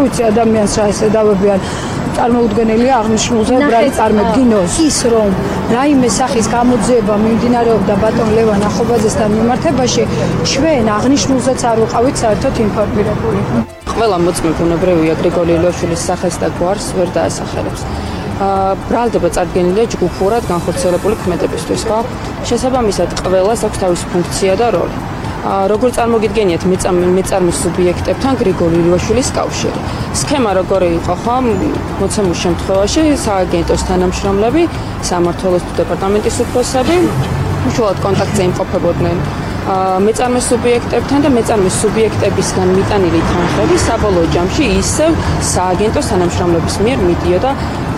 ვიცი ადამიანს რა ესე დავებიან წარმოუდგენელია აღნიშნულზე უბრალოდ წარმოდგინოს ის რომ რაიმე სახის გამოძიება მიმდინარეობდა ბატონ ლევან ახობაძესთან მიმართებაში ჩვენ აღნიშნულზეც არ ვიყავით საერთოდ ინფორმირებული. ყველა მოწმე ბუნებრივია გრიგოლი ილოშვილის სახელს და გვარს ვერ დაასახელებს. ბრალდება წარდგენილია ჯგუფურად განხორციელებული ქმედებისთვის, ხო? შესაბამისად ყველას აქვს თავისი ფუნქცია და როლი. როგორ წარმოგიდგენიათ მეწარმის სუბიექტებთან გრიგოლი ილოშვილის კავშირი. სქემა როგორი იყო, ხო? მოცემულ შემთხვევაში სააგენტოს თანამშრომლები, სამმართველოს დეპარტამენტის უფროსები უშუალოდ კონტაქტზე იმყოფებოდნენ მეწარმის სუბიექტებთან და მეწარმის სუბიექტებისგან მიტანილი თანხები საბოლოო ჯამში ისევ სააგენტოს თანამშრომლების მიერ მიდიოდა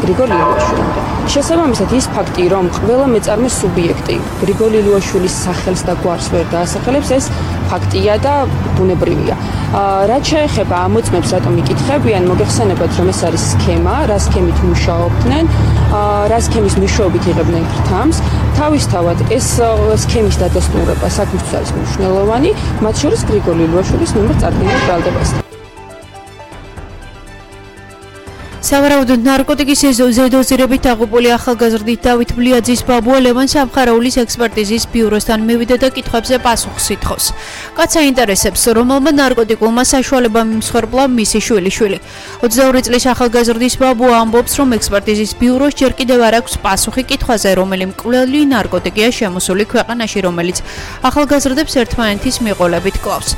გრიგოლი ილოშვილამდე. შესაბამისად ის ფაქტი, რომ ყველა მეწარმის სუბიექტი გრიგოლი ილოშვილის სახელს და გვარს ვერ დაასახელებს, ეს ფაქტია და ბუნებრივია. რაც შეეხება ამ მოწმებს, რატომ იკითხებიან, მოგეხსენებათ, რომ ეს არის სქემა, რა სქემით მუშაობდნენ, რა სქემის მეშვეობით იღებდნენ გრთამს. თავისთავად ეს სქემის დადასტურება საქმისთვის არის მნიშვნელოვანი, მათ შორის გრიგოლი ილოშვილის მიმართ წარდგენილ ბრალდებასთან. სავარაუდოდ ნარკოტიკის ზედოზირებით დაღუპული ახალგაზრდით დავით ბლიაძის ბაბუა ლევან სამხარაულის ექსპერტიზის ბიუროსთან მივიდა და კითხვებზე პასუხს ითხოვს. კაცს აინტერესებს, რომელმა ნარკოტიკულმა საშუალებამ იმსხვერპლა მისი შვილიშვილი. 22 წლის ახალგაზრდის ბაბუა ამბობს, რომ ექსპერტიზის ბიუროს ჯერ კიდევ არ აქვს პასუხი კითხვაზე, რომელი მკვლელი ნარკოტიკია შემოსული ქვეყანაში, რომელიც ახალგაზრდებს ერთმანეთის მიყოლებით კლავს.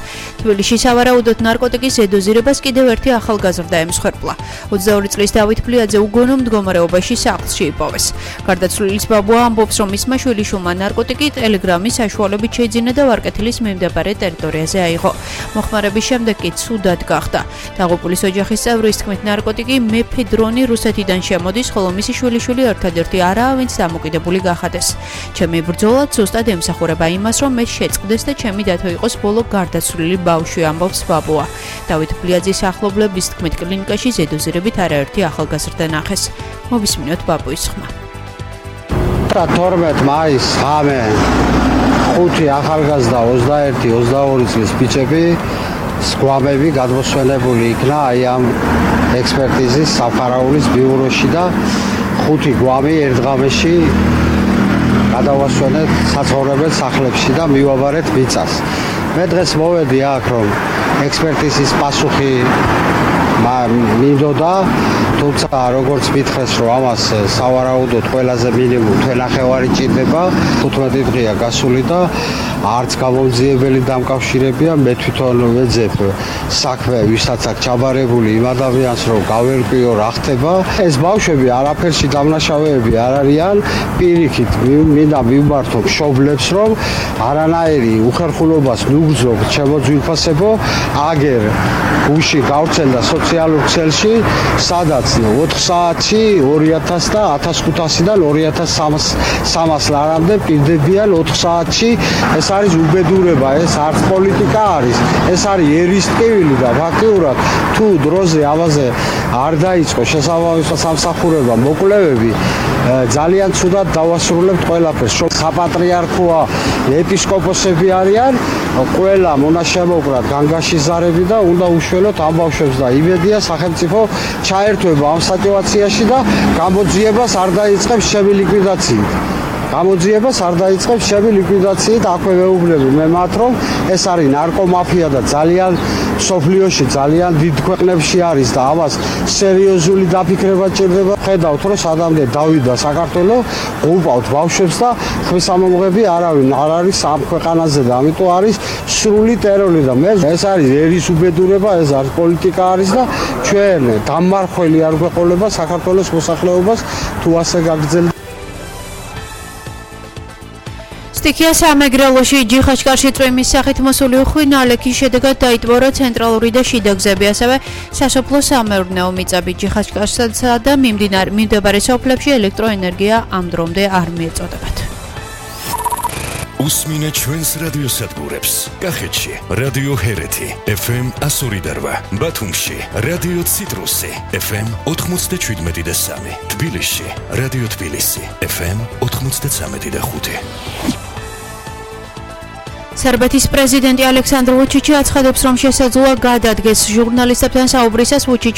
თბილისში სავარაუდოდ ნარკოტიკის ზედოზირებას კიდევ ერთი ახალგაზრდა ემსხვერპლა. 22 წლის დავით ბლიაძე უგონო მდგომარეობაში სახლში იპოვეს. გარდაცვლილის ბაბუა ამბობს, რომ მისმა შვილიშვილმა ნარკოტიკი ტელეგრამის საშუალებით შეიძინა და ვარკეთილის მიმდებარე ტერიტორიაზე აიღო. მოხმარების შემდეგ კი ცუდად გახდა. დაღუპულის ოჯახის წევრის თქმით, ნარკოტიკი მეფედრონი რუსეთიდან შემოდის, ხოლო მისი შვილიშვილი ერთადერთი არაა, ვინც დამოკიდებული გახადეს. ჩემი ბრძოლა ზუსტად ემსახურება იმას, რომ მე შეწყდეს და ჩემი დათო იყოს ბოლო გარდაცვლილი ბავშვი, ამბობს ბაბუა. დავით ბლიაძის ახლობლების თქმით, კლინიკაში ზედოზირებით არაერთი ახალგაზრდა ნახეს. მოვისმინოთ ბაბუის ხმა. 12 მაისს ღამე 5 ახალგაზრდა 21-22 წლის ბიჭები სგვამები გადმოსვენებული იქნა აი ამ ექსპერტიზის სამხარაულის ბიუროში და 5 გვამი ერთ ღამეში გადავასვენეთ საცხოვრებელ სახლებში და მივაბარეთ მიწას. მე დღეს მოვედი აქ, რომ ექსპერტიზის პასუხი მინდოდა, თუმცა როგორც მითხრეს, რომ ამას სავარაუდოდ ყველაზე მინიმუმ თვენახევარი ჭირდება, 15 დღეა გასული და არც გამომძიებელი დამკავშირებია. მე თვითონ ვეძებ საქმე, ვისაც აქ ჩაბარებული იმ ადამიანს, რომ გავერკვიო რა ხდება. ეს ბავშვები არაფერში დამნაშავეები არ არიან, პირიქით მინდა მიმართო მშობლებს, რომ არანაირი უხერხულობას ნუგზობ შემოძვირფასებო, აგერ გუში გავრცელდა სოციალურ ქსელში, სადაც 4 საათში 2000 და 1500-დან 2300 ლარამდე პირდებიან 4 საათში. ეს არის უბედურება, ეს არც პოლიტიკა არის, ეს არის ერისტკივილი და ფაქტიურად თუ დროზე ამაზე არ დაიწყო შესაბამის სამსახურება მოკვლევები, ძალიან ცუდად დავასრულებთ ყველაფერს. საპატრიარქოა ეპისკოპოსები არიან, ყველა მონაშემოკრად განგაშიზარები და უნდა უშველოთ ამ ბავშვებს და იმედია სახელმწიფო ჩაერთვება ამ სიტუაციაში და გამოძიებას არ დაიწყებს ჩემი ლიკვიდაციით. გამოძიებას არ დაიწყებს ჩემი ლიკვიდაციით, აქვე ვეუბნები მე მათ, რომ ეს არის ნარკომაფია და ძალიან სოფლიოში ძალიან დიდ ქვეყნებში არის და ამას სერიოზული დაფიქრება ჭირდება. ხედავთ, რომ სადამდე დავიდა საქართველო, უყავთ ბავშვებს და ხმისამომღები არავინ არ არის ამ ქვეყანაზე და ამიტომ არის სრული ტერორი და მე ეს არის ერის უბედურება, ეს არის პოლიტიკა არის და ჩვენ დამმარხველი არ გვეყოლება საქართველოს მოსახლეობას თუ ასე გაგრძელდება. სტიქია სამეგრელოში ჯიხაშკარში წვიმის სახით მოსული უხვი ნალექის შედეგად დაიტბორა ცენტრალური და შიდა გზები, ასევე სასოფლო სამეურნეო მიწები. ჯიხაშკარსა და მიმდებარე სოფლებში ელექტროენერგია ამ დრომდე არ მიეწოდებათ. უსმინეთ ჩვენს რადიოსადგურებს. კახეთში რადიო ჰერეთი FM 102.8, ბათუმში რადიო ციტრუსი FM 97.3, თბილისში რადიო თბილისი FM 93.5. სერბეთის პრეზიდენტი ალექსანდრ ვუჩიჩი აცხადებს, რომ შესაძლოა გადადგეს ჟურნალისტებთან საუბრისას. ვუჩიჩი